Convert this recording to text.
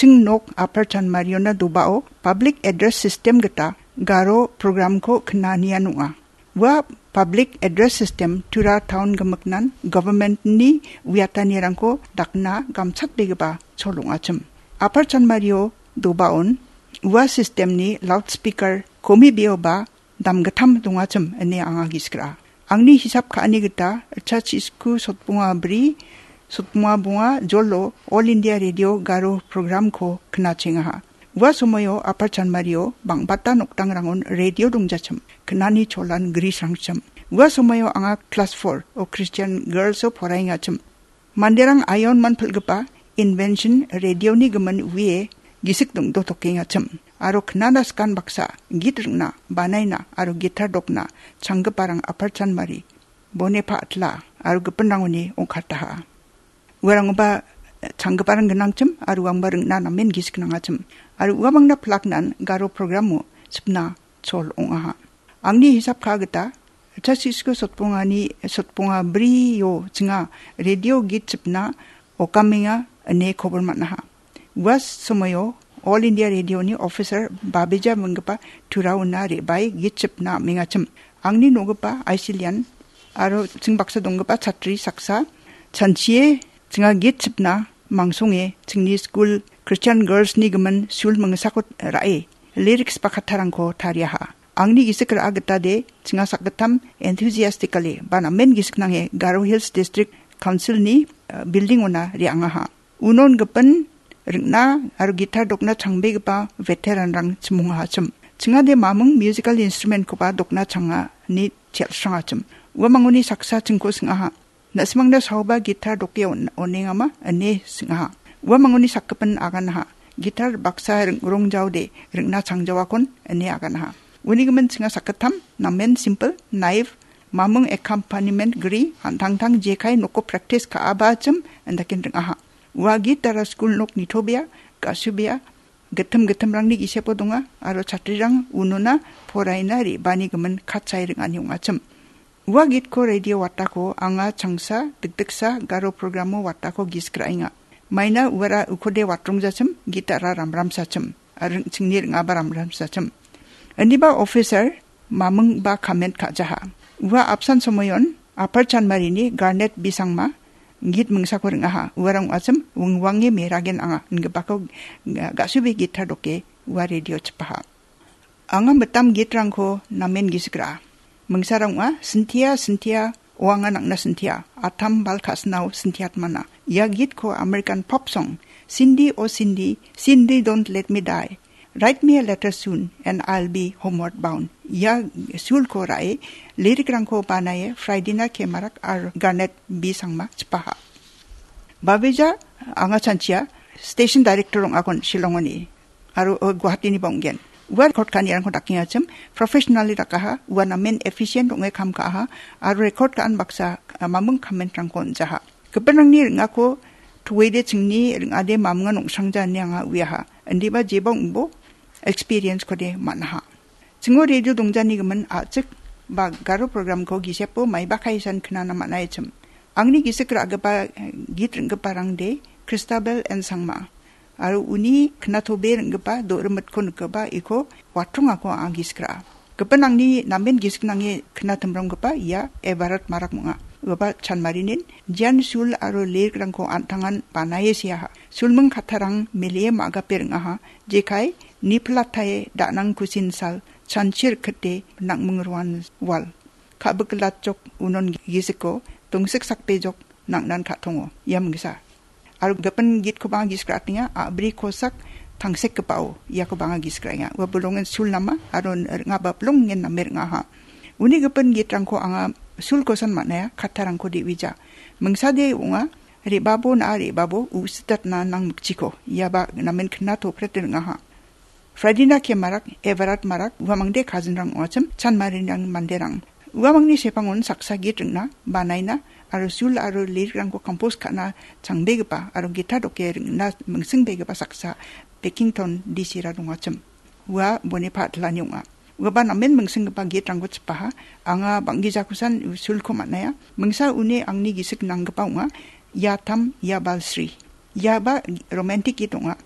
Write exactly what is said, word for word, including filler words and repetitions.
Ching nok Upper Chanmariona dobao public address system gita Garo programko knanian ong·a. Ua public address system Tura town gimiknan government-ni uiatanirangko dakna gamchatbegipa chol ong·achim. Upper Chanmario dobaon ua system-ni loudspeaker komibioba damgittam dongachim ine anga gisik ra·a. Angni hisap ka·ani gita ritchasisku sotbonga bri, sotbonga bonga jolo All India Radio Garo programko knachengaha. Ua somoio Upper Chanmario bang·bata nokdangrangon radio dongjachim, knani cholan grisrangchim. Ua somoio anga class four o Christian Girls-o poraengachim. Manderang aion manpilgipa invention radioni gimin wie gisik dongdotokengachim. Aro knana skan baksa git ringna, banaina aro gitar dokna changgiparang Upper Chanmari, Bonepa Atla aro gipinrangoni ongkataha. Uarangoba changgiparang gnangchim aro uangba ringna namen gisik nangachim. Aro uamangna pilaknan Garo programo sipna chol ong·aha. Angni hisap ka·a gita, ritchasisku sotbongani, sotbonga brio chinga radio git sipna okamenga ine kobor man·aha. Ua somoio All India Radioni officer Babeja minggipa Turaona re·bae git sipna am·engachim. Angni nogipa Aisilian aro ching baksa donggipa chatri saksa chanchie chinga git sipna mangsonge chingni skul Christian Girls-ni gimin sul mingsako ra·e lyrics ba kattarangko tariaha. Angni gisik ra·a gitade chinga sakgittam enthusiastically ba namen gisik nange Garo Hills District Council-ni, eh, building-ona re·angaha. Unon gipin ringna aro gitar dokna changbegipa veteran-rang chimongahachim. Chingade mamung musical instrument-koba dokna changa ine chelsrangachim. Uamangoni saksa chingko sing·aha. Na·simangna saoba gitar doke on-, onengama ine sing·aha. Uamangoni sakgipin aganaha. Gitar baksa ring-, rongjaode ringna changjaoakon ine aganaha. Uni gimin chinga sakgittam, namen simple, naive, mamung accompaniment gri, an·tangtang jekai noko practice ka·abachim indaken ring·aha. Ua git aro skul nok nitobea, ga·subea, gittim gittimrangni gisepo donga aro chatrirang unona poraina re·bani gimin katchae ring·ani ong·achim. Ua gitko radio watako anga changsa dikdiksa Garo programo watako gisik ra·enga. Maina uara ukode watrongchim, gitara ramramsachim, aro ring-, chingni ring·aba ramramsachim. Indiba officer mamingba comment ka·jaha. Ua apsan somoion Upper Chanmarini Garnet Bisangma git mingsako ring·aha. Uarang ong·achim Wingwange Meragen anga ingipako ga-, ga·sube gitar doke ua radio chipaha. Anga mitam gitrangko namen gisik ra·a. Mingsarang ong·a, Sintia, Sintia, o anga nang·na sintia, atam bal ka·sinao sintiatmana. Ia gitko American pop song, Cindy, oh Cindy, Cindy, don't let me die. Write me a letter soon and I'll be homeward bound. Ia sulko ra·e, lyric-rangko banae Fridina Kemarak aro Garnet Bisangma chipaha. Babeja anga chanchia station director ong·akon Shillongoni aro, o, Guwahati-ni bang·gen. Ua record ka·anirangko dakengachim, professionally dakaha, ua namen efficient ong·e kam ka·aha, aro record ka·an baksa, a, mamung comment-rangko on·jaha. Gipinrangni ring·ako toede chingni ring·ade mamungan ong·srangja ine anga uiaha. Indiba jeba ong·bo experience-kode man·aha. Chingo radio dongjani gimin a·chik ba Garo program-ko gisepo maibakaisan knana man·aichim. Angni gisik ra·gipa, eh, git ring·giparangde Christabel N Sangma. Aro uni knatobe ring·gipa do·rimitko nikgipa iko watrongako anga gisik ra·a. Gipin angni namen gisik nange knatimronggipa ia Everett Marak ong·a. Uaba Chanmarinin jian sul aro lyric-rangko an·tangan banaie seaha. Sulming kattarang melie ma·gape ring·aha. Jekai, ni pilatae da·nang kusin sal, chanchir kite nang·ming ruan wal. Ka·biklatjok unon gisiko, tongsik sakbejok nang·nan ka·tongo. Ia mingsa. Aro gipin gitkoba anga gisik ra·atenga, a·bri kosak tangsekgipao, iakoba anga gisik ra·enga. Ua bilongen sul nama, aro ring·aba bilongen name ring·aha. Uni gipin gitrangko anga sulkosan man·aia, kattarangko de·uija. Mingsade ong·a, re·babo na·a re·babo, u·sitatna nang mikchiko. Iaba namen kna topret ring·aha. Fredina Kemarak, Everett Marak, uamangde kazinrang ong·achim, Chanmarinrang manderang. Uamangni sepangon saksa git ring·na, banaina, aro sul aro lyric-rangko compose ka·na changbegipa aro gitar doke ring·na mingsingbegipa saksa Beckington D C-ra dongachim. Ua Bonifa Atlani ong·a. Uaba namen mingsinggipa git-rangko chipaha, anga bang·gijakosan sulko man·aia. Mingsa uni angni gisik nanggipa ong·a, Ia Tam, Ia Balsri. Iaba romantic git ong·a.